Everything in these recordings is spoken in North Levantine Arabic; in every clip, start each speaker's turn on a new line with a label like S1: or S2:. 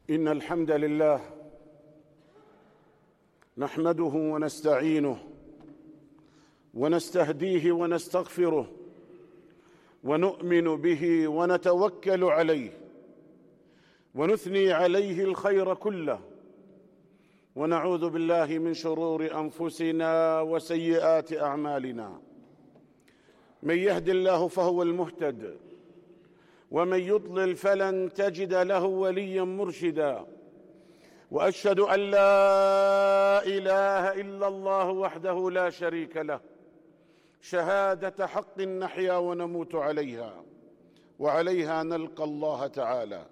S1: إن الحمد لله نحمده ونستعينه ونستهديه ونستغفره ونؤمن به ونتوكل عليه ونثني عليه الخير كله ونعوذ بالله من شرور أنفسنا وسيئات أعمالنا. من يهد الله فهو المهتد ومن يضلل فلن تجد له وليا مرشدا. وأشهد أن لا إله إلا الله وحده لا شريك له شهادة حق نحيا ونموت عليها وعليها نلقى الله تعالى.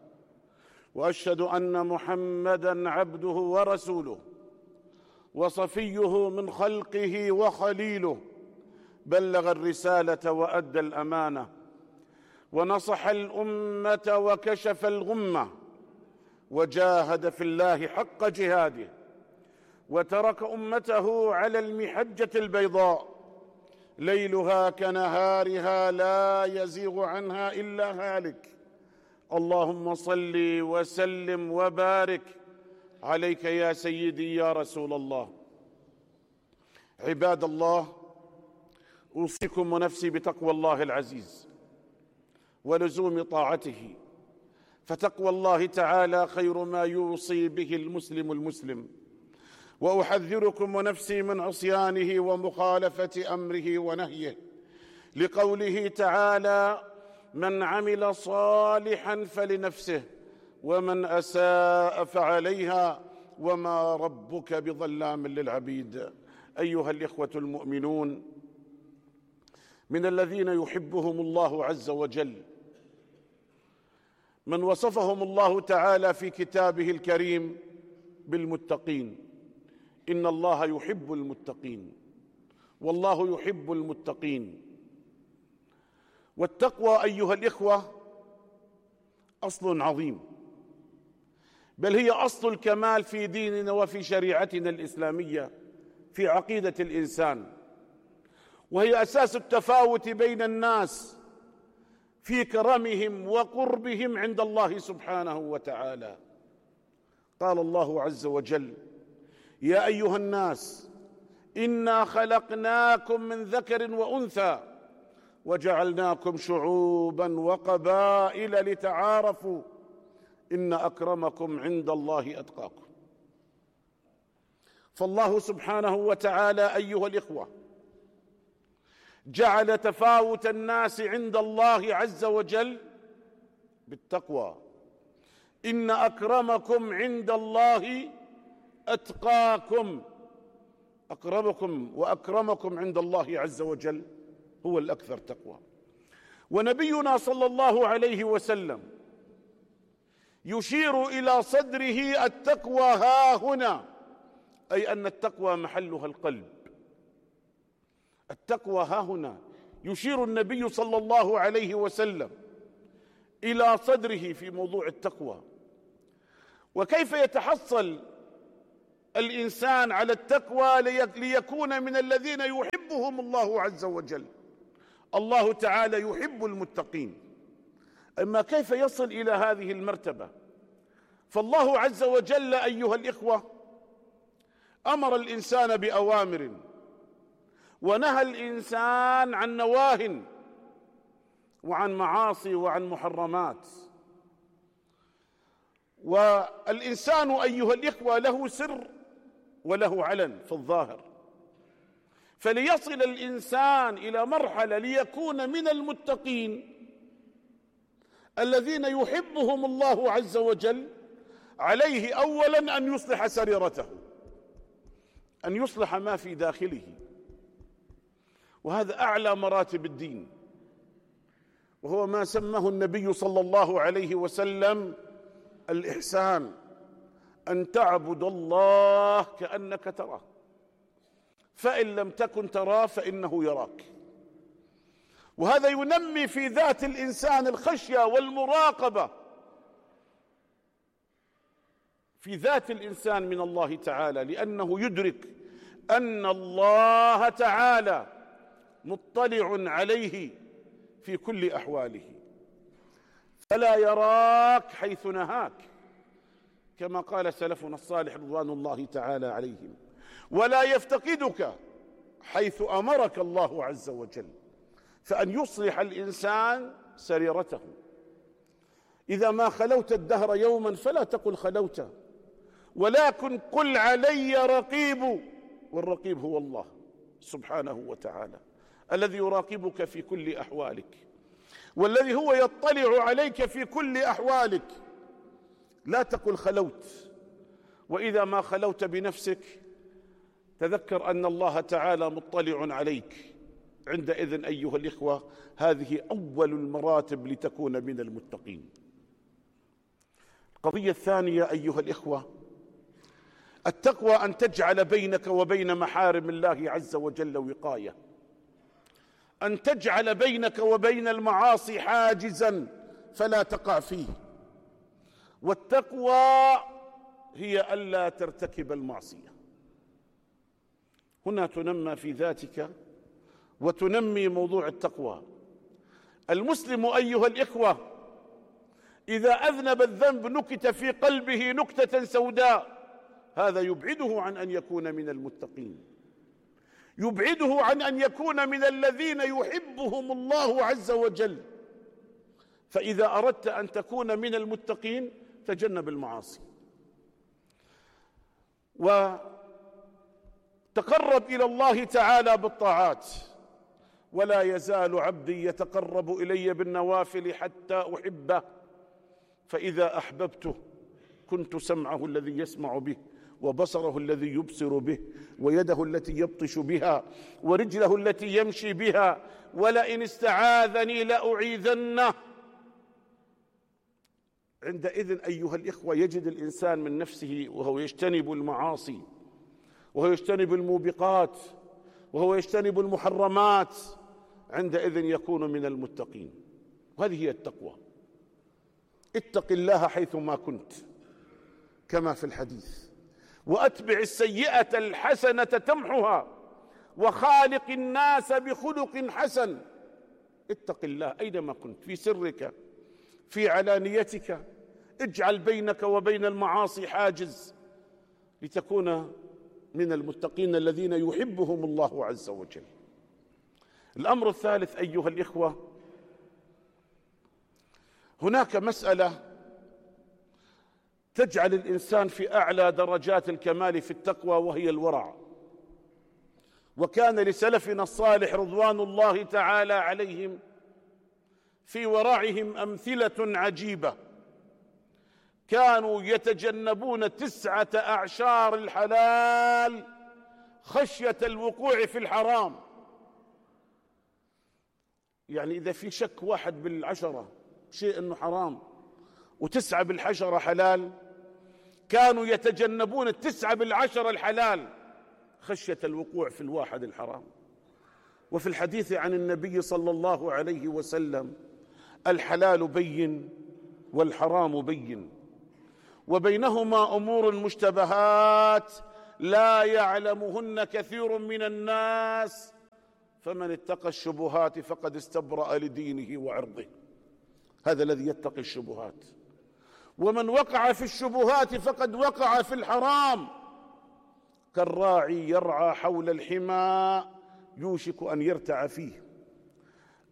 S1: وأشهد أن محمدًا عبده ورسوله وصفيه من خلقه وخليله، بلغ الرسالة وأدى الأمانة ونصح الأمة وكشف الغمة وجاهد في الله حق جهاده وترك أمته على المحجة البيضاء ليلها كنهارها لا يزيغ عنها إلا هالك. اللهم صل وسلم وبارك عليك يا سيدي يا رسول الله. عباد الله، أوصيكم ونفسي بتقوى الله العزيز ولزوم طاعته، فتقوى الله تعالى خير ما يوصي به المسلم. وأحذركم ونفسي من عصيانه ومخالفة أمره ونهيه، لقوله تعالى: من عمل صالحا فلنفسه ومن أساء فعليها وما ربك بظلام للعبيد. أيها الإخوة المؤمنون، من الذين يحبهم الله عز وجل من وصفهم الله تعالى في كتابه الكريم بالمتقين. إن الله يحب المتقين، والله يحب المتقين. والتقوى أيها الإخوة أصل عظيم، بل هي أصل الكمال في ديننا وفي شريعتنا الإسلامية في عقيدة الإنسان، وهي أساس التفاوت بين الناس في كرمهم وقربهم عند الله سبحانه وتعالى. قال الله عز وجل: يا أيها الناس إنا خلقناكم من ذكر وأنثى وجعلناكم شعوبا وقبائل لتعارفوا إن أكرمكم عند الله أتقاكم. فالله سبحانه وتعالى أيها الإخوة جعل تفاوت الناس عند الله عز وجل بالتقوى. إن أكرمكم عند الله أتقاكم. أقربكم وأكرمكم عند الله عز وجل هو الأكثر تقوى. ونبينا صلى الله عليه وسلم يشير إلى صدره التقوى ها هنا، أي أن التقوى محلها القلب. التقوى ها هنا. يشير النبي صلى الله عليه وسلم إلى صدره في موضوع التقوى. وكيف يتحصل الإنسان على التقوى ليكون من الذين يحبهم الله عز وجل؟ الله تعالى يحب المتقين. أما كيف يصل إلى هذه المرتبة؟ فالله عز وجل أيها الإخوة أمر الإنسان بأوامر ونهى الإنسان عن نواه وعن معاصي وعن محرمات. والإنسان أيها الإخوة له سر وله علن في الظاهر، فليصل الإنسان إلى مرحلة ليكون من المتقين الذين يحبهم الله عز وجل، عليه أولا أن يصلح سريرته، أن يصلح ما في داخله، وهذا أعلى مراتب الدين، وهو ما سماه النبي صلى الله عليه وسلم الإحسان: أن تعبد الله كأنك تراه، فإن لم تكن تراه فإنه يراك. وهذا ينمي في ذات الإنسان الخشية والمراقبة في ذات الإنسان من الله تعالى، لأنه يدرك أن الله تعالى مطلع عليه في كل أحواله، فلا يراك حيث نهاك، كما قال سلفنا الصالح رضوان الله تعالى عليهم: ولا يفتقدك حيث أمرك الله عز وجل، فأن يصلح الإنسان سريرته. إذا ما خلوت الدهر يوما فلا تقل خلوت، ولكن قل علي رقيب، والرقيب هو الله سبحانه وتعالى الذي يراقبك في كل أحوالك، والذي هو يطلع عليك في كل أحوالك. لا تقل خلوت، وإذا ما خلوت بنفسك تذكر أن الله تعالى مطلع عليك. عندئذ أيها الإخوة هذه أول المراتب لتكون من المتقين. القضية الثانية أيها الإخوة، التقوى أن تجعل بينك وبين محارم الله عز وجل وقاية، أن تجعل بينك وبين المعاصي حاجزا فلا تقع فيه. والتقوى هي ألا ترتكب المعصية. هنا تنمى في ذاتك وتنمي موضوع التقوى. المسلم أيها الإخوة إذا أذنب الذنب نكت في قلبه نكتة سوداء، هذا يبعده عن أن يكون من المتقين، يبعده عن أن يكون من الذين يحبهم الله عز وجل. فإذا أردت أن تكون من المتقين تجنب المعاصي وتقرب إلى الله تعالى بالطاعات. ولا يزال عبدي يتقرب إلي بالنوافل حتى أحبه، فإذا أحببته كنت سمعه الذي يسمع به، وبصره الذي يبصر به، ويده التي يبطش بها، ورجله التي يمشي بها، ولئن استعاذني لأعيذنه. عندئذ أيها الإخوة يجد الإنسان من نفسه وهو يجتنب المعاصي، وهو يجتنب الموبقات، وهو يجتنب المحرمات، عندئذ يكون من المتقين. وهذه هي التقوى. اتق الله حيثما كنت كما في الحديث، وأتبع السيئة الحسنة تمحها، وخالق الناس بخلق حسن. اتق الله أينما كنت، في سرك في علانيتك، اجعل بينك وبين المعاصي حاجز لتكون من المتقين الذين يحبهم الله عز وجل. الأمر الثالث أيها الإخوة، هناك مسألة تجعل الإنسان في أعلى درجات الكمال في التقوى، وهي الورع. وكان لسلفنا الصالح رضوان الله تعالى عليهم في ورعهم أمثلة عجيبة. كانوا يتجنبون 9 أعشار الحلال خشية الوقوع في الحرام. يعني إذا في شك 1 بالعشرة شيء أنه حرام و9 بالعشرة حلال، كانوا يتجنبون 9 بالعشرة الحلال خشية الوقوع في 1 الحرام. وفي الحديث عن النبي صلى الله عليه وسلم: الحلال بين والحرام بين، وبينهما أمور مشتبهات لا يعلمهن كثير من الناس، فمن اتقى الشبهات فقد استبرأ لدينه وعرضه. هذا الذي يتقي الشبهات. ومن وقع في الشبهات فقد وقع في الحرام، كالراعي يرعى حول الحمى يوشك أن يرتع فيه.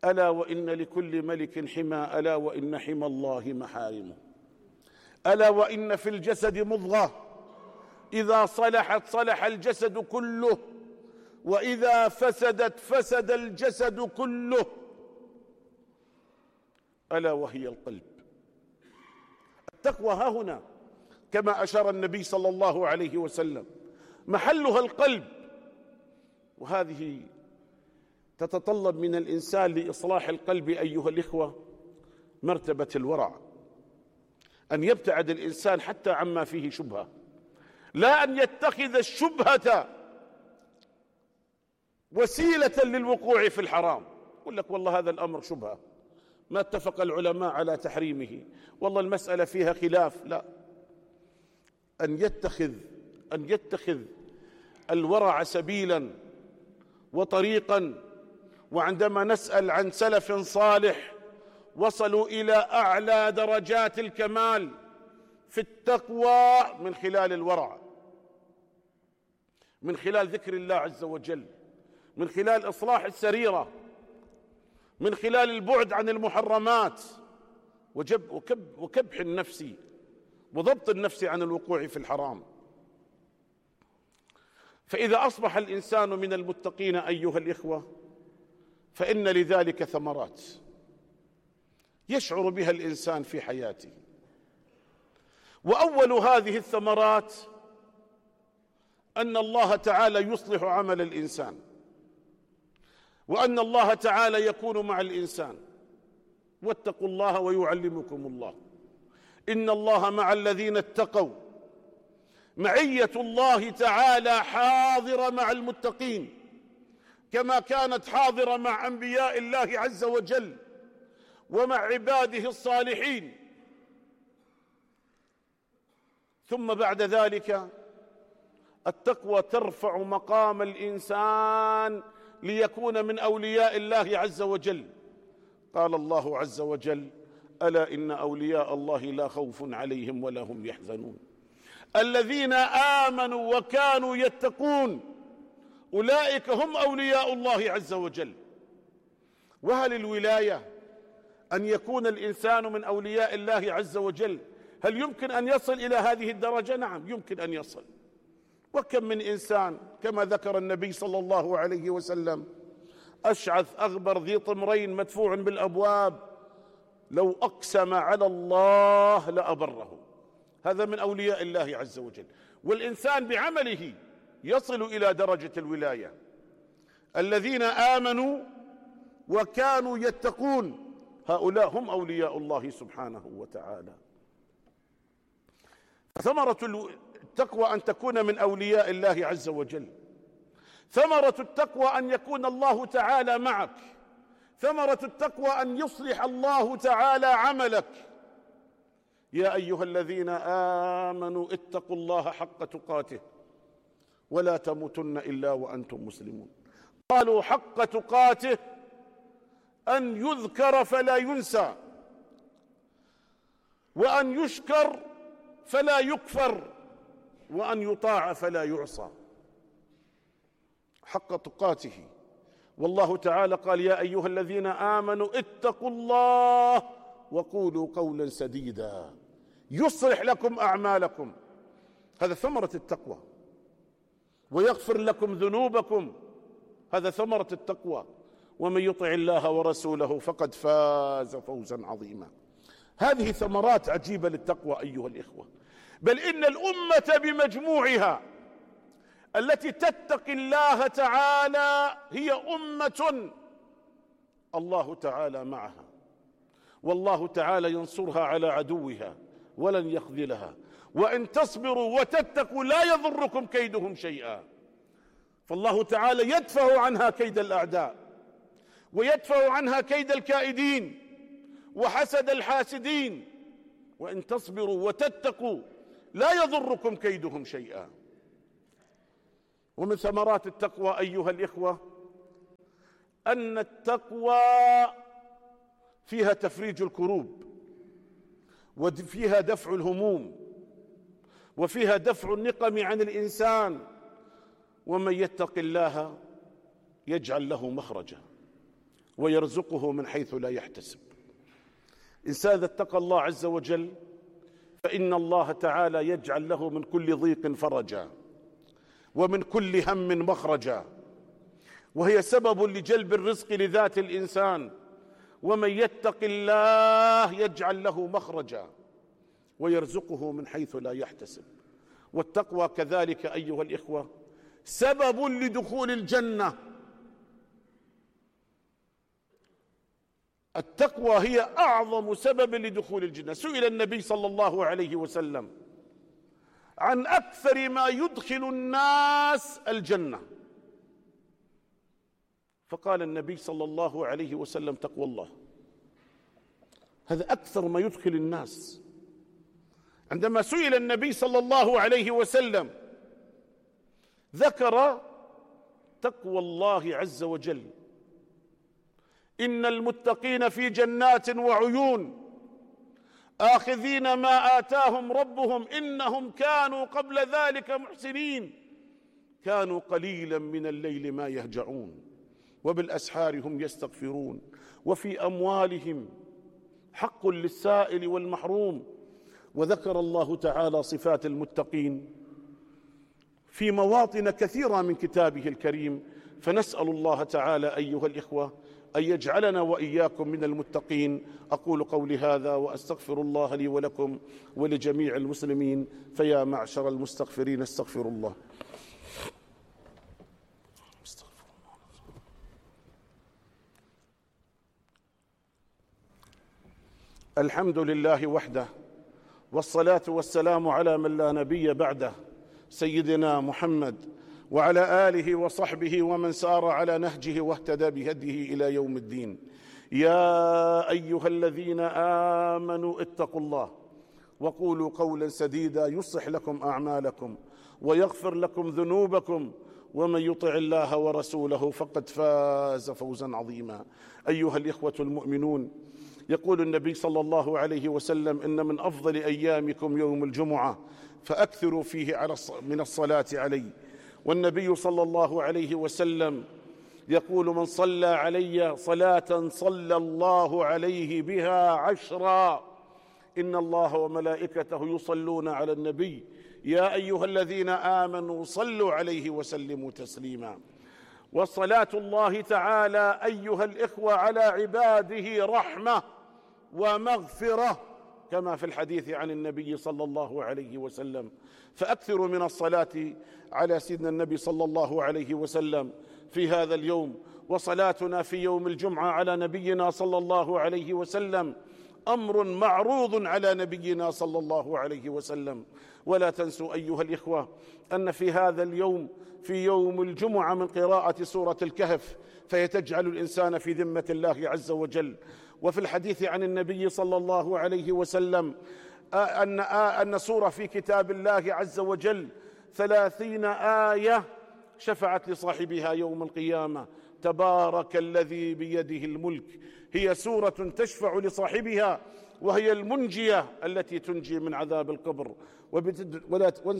S1: ألا وإن لكل ملك حمى، ألا وإن حمى الله محارمه. ألا وإن في الجسد مضغة إذا صلحت صلح الجسد كله، وإذا فسدت فسد الجسد كله، ألا وهي القلب. التقوى ها هنا كما أشار النبي صلى الله عليه وسلم محلها القلب. وهذه تتطلب من الإنسان لإصلاح القلب أيها الإخوة مرتبة الورع، أن يبتعد الإنسان حتى عما فيه شبهة، لا أن يتخذ الشبهة وسيلة للوقوع في الحرام. يقول لك والله هذا الأمر شبهة، ما اتفق العلماء على تحريمه، والله المسألة فيها خلاف. لا، أن يتخذ الورع سبيلا وطريقا. وعندما نسأل عن سلف صالح وصلوا إلى أعلى درجات الكمال في التقوى من خلال الورع، من خلال ذكر الله عز وجل، من خلال إصلاح السريرة، من خلال البعد عن المحرمات وكبح النفس وضبط النفس عن الوقوع في الحرام. فإذا أصبح الإنسان من المتقين أيها الإخوة فإن لذلك ثمرات يشعر بها الإنسان في حياته. وأول هذه الثمرات أن الله تعالى يصلح عمل الإنسان، وأن الله تعالى يكون مع الإنسان. واتقوا الله ويعلمكم الله، إن الله مع الذين اتقوا. معية الله تعالى حاضرة مع المتقين كما كانت حاضرة مع أنبياء الله عز وجل ومع عباده الصالحين. ثم بعد ذلك التقوى ترفع مقام الإنسان ليكون من أولياء الله عز وجل. قال الله عز وجل: ألا إن أولياء الله لا خوف عليهم ولا هم يحزنون الذين آمنوا وكانوا يتقون أولئك هم أولياء الله عز وجل. وهل الولاية أن يكون الإنسان من أولياء الله عز وجل؟ هل يمكن أن يصل إلى هذه الدرجة؟ نعم، يمكن أن يصل. وكم من إنسان كما ذكر النبي صلى الله عليه وسلم: أشعث أغبر ذي طمرين مدفوع بالأبواب لو أقسم على الله لأبره. هذا من أولياء الله عز وجل. والإنسان بعمله يصل إلى درجة الولاية. الذين آمنوا وكانوا يتقون هؤلاء هم أولياء الله سبحانه وتعالى. ثمرة التقوى أن تكون من أولياء الله عز وجل. ثمرة التقوى أن يكون الله تعالى معك. ثمرة التقوى أن يصلح الله تعالى عملك. يا أيها الذين آمنوا اتقوا الله حق تقاته ولا تموتن إلا وأنتم مسلمون. قالوا حق تقاته أن يذكر فلا ينسى، وأن يشكر فلا يكفر، وأن يطاع فلا يعصى. حق تقاته. والله تعالى قال: يا أيها الذين آمنوا اتقوا الله وقولوا قولا سديدا يصلح لكم أعمالكم. هذا ثمرة التقوى. ويغفر لكم ذنوبكم. هذا ثمرة التقوى. ومن يطع الله ورسوله فقد فاز فوزا عظيما. هذه ثمرات عجيبة للتقوى أيها الإخوة. بل إن الأمة بمجموعها التي تتقي الله تعالى هي أمة الله تعالى معها، والله تعالى ينصرها على عدوها ولن يخذلها. وإن تصبروا وتتقوا لا يضركم كيدهم شيئا. فالله تعالى يدفع عنها كيد الأعداء، ويدفع عنها كيد الكائدين وحسد الحاسدين. وإن تصبروا وتتقوا لا يضركم كيدهم شيئا. ومن ثمرات التقوى أيها الإخوة أن التقوى فيها تفريج الكروب، وفيها دفع الهموم، وفيها دفع النقم عن الإنسان. ومن يتق الله يجعل له مخرجا ويرزقه من حيث لا يحتسب. إنسان إذا اتقى الله عز وجل فإن الله تعالى يجعل له من كل ضيق فرجا ومن كل هم مخرجا، وهي سبب لجلب الرزق لذات الإنسان. ومن يتق الله يجعل له مخرجا ويرزقه من حيث لا يحتسب. والتقوى كذلك أيها الإخوة سبب لدخول الجنة. التقوى هي أعظم سبب لدخول الجنة. سئل النبي صلى الله عليه وسلم عن أكثر ما يدخل الناس الجنة، فقال النبي صلى الله عليه وسلم: تقوى الله. هذا أكثر ما يدخل الناس. عندما سئل النبي صلى الله عليه وسلم ذكر تقوى الله عز وجل: إن المتقين في جنات وعيون آخذين ما آتاهم ربهم إنهم كانوا قبل ذلك محسنين كانوا قليلا من الليل ما يهجعون وبالأسحار هم يستغفرون وفي أموالهم حق للسائل والمحروم. وذكر الله تعالى صفات المتقين في مواطن كثيرة من كتابه الكريم، فنسأل الله تعالى أيها الإخوة أن يجعلنا وإياكم من المتقين. أقول قولي هذا وأستغفر الله لي ولكم ولجميع المسلمين، فيا معشر المستغفرين استغفروا الله. الحمد لله وحده، والصلاة والسلام على من لا نبي بعده، سيدنا محمد وعلى آله وصحبه ومن سار على نهجه واهتدى بهديه إلى يوم الدين. يا أيها الذين آمنوا اتقوا الله وقولوا قولا سديدا يصلح لكم أعمالكم ويغفر لكم ذنوبكم، ومن يطع الله ورسوله فقد فاز فوزا عظيما. أيها الإخوة المؤمنون، يقول النبي صلى الله عليه وسلم: إن من أفضل أيامكم يوم الجمعة فأكثروا فيه من الصلاة علي. والنبي صلى الله عليه وسلم يقول: من صلى علي صلاة صلى الله عليه بها 10. إن الله وملائكته يصلون على النبي يا أيها الذين آمنوا صلوا عليه وسلموا تسليما. وصلاة الله تعالى أيها الإخوة على عباده رحمة ومغفرة، كما في الحديث عن النبي صلى الله عليه وسلم. فأكثروا من الصلاة على سيدنا النبي صلى الله عليه وسلم في هذا اليوم. وصلاتنا في يوم الجمعة على نبينا صلى الله عليه وسلم أمر معروض على نبينا صلى الله عليه وسلم. ولا تنسوا أيها الإخوة أن في هذا اليوم، في يوم الجمعة، من قراءة سورة الكهف فيتجعل الإنسان في ذمة الله عز وجل. وفي الحديث عن النبي صلى الله عليه وسلم أن سورة في كتاب الله عز وجل 30 آية شفعت لصاحبها يوم القيامة. تبارك الذي بيده الملك، هي سورة تشفع لصاحبها، وهي المنجية التي تنجي من عذاب القبر.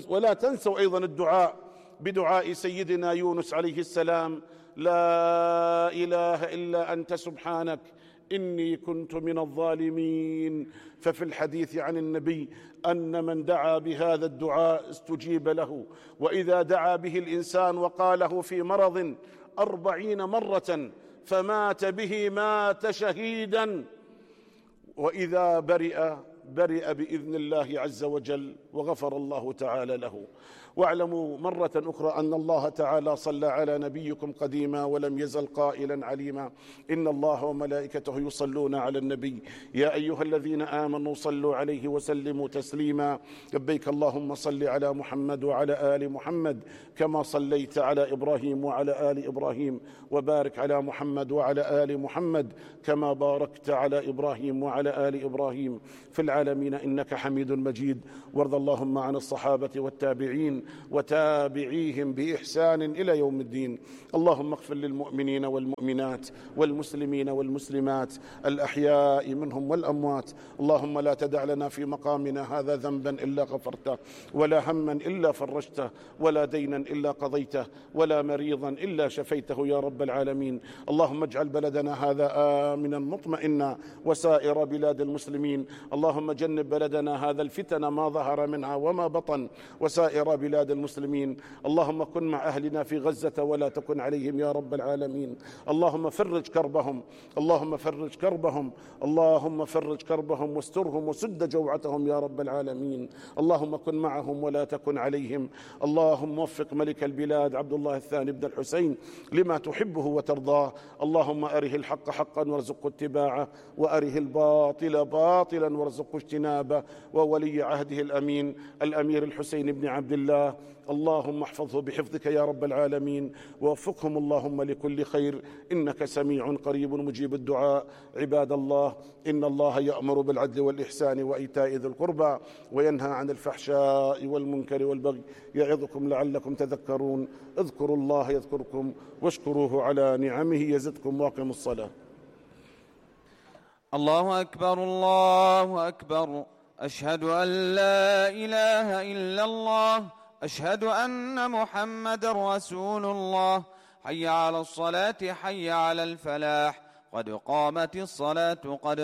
S1: ولا تنسوا أيضا الدعاء بدعاء سيدنا يونس عليه السلام: لا إله إلا أنت سبحانك إني كنت من الظالمين. ففي الحديث عن النبي أن من دعا بهذا الدعاء استجيب له، وإذا دعا به الإنسان وقاله في مرض 40 مرة فمات به مات شهيدا، وإذا برئ بإذن الله عز وجل وغفر الله تعالى له. واعلموا مرة أخرى أن الله تعالى صلى على نبيكم قديما ولم يزل قائلا عليما: إن الله وملائكته يصلون على النبي يا أيها الذين آمنوا صلوا عليه وسلموا تسليما. لبيك اللهم صل على محمد وعلى آل محمد كما صليت على إبراهيم وعلى آل إبراهيم، وبارك على محمد وعلى آل محمد كما باركت على إبراهيم وعلى آل إبراهيم في العالمين إنك حميد مجيد. وارض اللهم عن الصحابة والتابعين وتابعيهم بإحسان إلى يوم الدين. اللهم اغفر للمؤمنين والمؤمنات والمسلمين والمسلمات الأحياء منهم والأموات. اللهم لا تدع لنا في مقامنا هذا ذنبا إلا غفرته، ولا هما إلا فرجته، ولا دينا إلا قضيته، ولا مريضا إلا شفيته يا رب العالمين. اللهم اجعل بلدنا هذا آمنا مطمئنا وسائر بلاد المسلمين. اللهم جنب بلدنا هذا الفتن ما ظهر منها وما بطن وسائر بلاد المسلمين. اللهم كن مع أهلنا في غزة ولا تكن عليهم يا رب العالمين. اللهم فرج كربهم، اللهم فرج كربهم، اللهم فرج كربهم واسترهم وسد جوعتهم يا رب العالمين. اللهم كن معهم ولا تكن عليهم. اللهم وفق ملك البلاد عبد الله الثاني بن الحسين لما تحبه وترضاه. اللهم أره الحق حقا وارزقه اتباعه، وأره الباطل باطلا وارزقه اجتنابه. وولي عهده الأمين الأمير الحسين بن عبد الله، اللهم احفظه بحفظك يا رب العالمين، ووفقهم اللهم لكل خير، إنك سميع قريب مجيب الدعاء. عباد الله، إن الله يأمر بالعدل والإحسان وإيتاء ذي القربى وينهى عن الفحشاء والمنكر والبغي يعظكم لعلكم تذكرون. اذكروا الله يذكركم واشكروه على نعمه يزدكم، واقيموا الصلاة.
S2: الله أكبر الله أكبر. أشهد أن لا إله إلا الله. أشهد أن محمد رسول الله. حي على الصلاة حي على الفلاح. قد قامت الصلاة قد